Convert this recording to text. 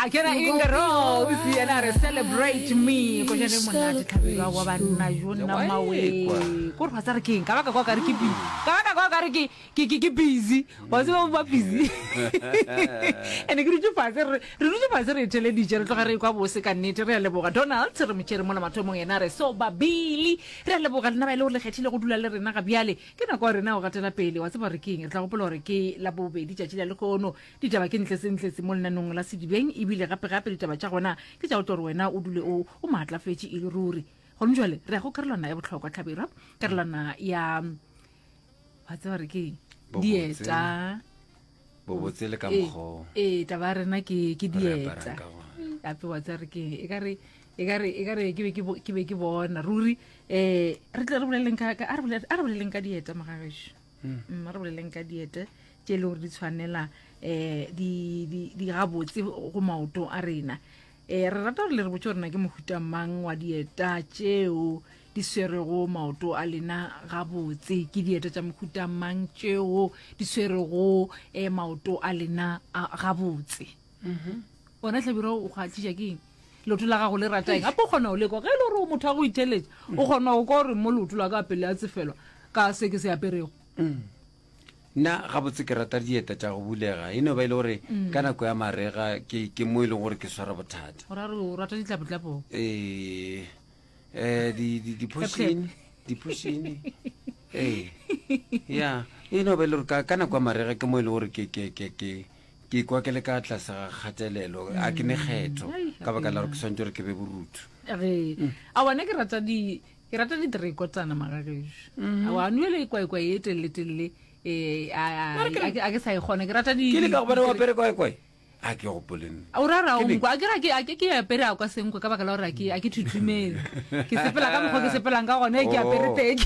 A ke na Inga Rose yena a re celebrate me ko jane monate tlhabelwa wa banna jo nna mawe ko re wa tsare keng ka baka kwa ka re ke busy ka baka kwa ka re ke ke ke ke busy wa tseba ba busy ene ke dutse fatshe re re dutse fatshe re theleditše re tloga re kwa bose ka nnete re a leboga Donald re motšhere mola mathomong yena re so babili re a leboga lena ba ile gore le kgethile go dula le rena ga bjale ke nako ya rena go gatela pele wa tseba re keng re tla gopola gore ke la bobedi tšatši la lehono Ditaba ke ntletsentletse mo lenanong la Sedibeng ebile gape-gape ditaba tša gona ke tša go tlo gore wena o dule o o maatlafetše e le ruri. Gone jwale re ya go karolwana ya bohlokwa Hlabirwa, karolwana ya wa tseba re ke eng? Bobotse. Dieta. Bobotse le ka Ee, mokgwa o ee, taba ya rena ke ke re dieta. aparang ka gona. Gape wa tseba re ke eng? E ka re e ka re e ka re ke be ke bo- ke be ke bona ruri eh re tle re boleleng ka ka- a re bolele- a re boleleng ka dieta mogagešo. Mm, a re boleleng ka dieta tše e le gore di tshwanela um di di gabotse go maoto a rena um re rata gore le re botse gore na ke mohuta mang wa dieta tšeo di swerego maoto a lena gabotse ke dieta tša mohuta mang tšeo di swerego um maoto a lena gabotse mhm. wena hlabira o kgatliša ke eng leoto la gago le rata eng gape o kgona go lekwa ge e le gore o motho wa go itheletša o kgona go kwa gore mo leoto la ka pele a tsefelwa ka se ke se aperego mm. Nna gabotse ke rata dieta tša go bulega, e no ba e le gore ka nako ya marega ke, ke mo e leng gore ke swara bothata. O ra re o rata ditlapotlapong? Ee, eh, di, di, diphošene, diphošene. Ee, ya, e no ba e le gore ka, ka nako ya marega ke mo e leng gore ke, ke, ke, ke, ke ikwa ke le ka tlase ga kgatelelo, a ke ne kgetho, Ai, ka baka la gore ke swanetše gore ke be borutho. Ge, aowa nna ke rata di, Ke rata diterekotana magagešo. Mm. Awa no ele kwaekwae e telele telele eh a a ke sa e kgona ke rata di Ke le ka gobane wa apere kwaekwae. A ke gopole nna. O ra ra o nkwa a ke ra ke a ke ke apere a kwa senkwe ka baka la gore a ke a ke thuthumele. Ke sepela ka mokgwa ke sepelang ka gone ke apere Oh. teke.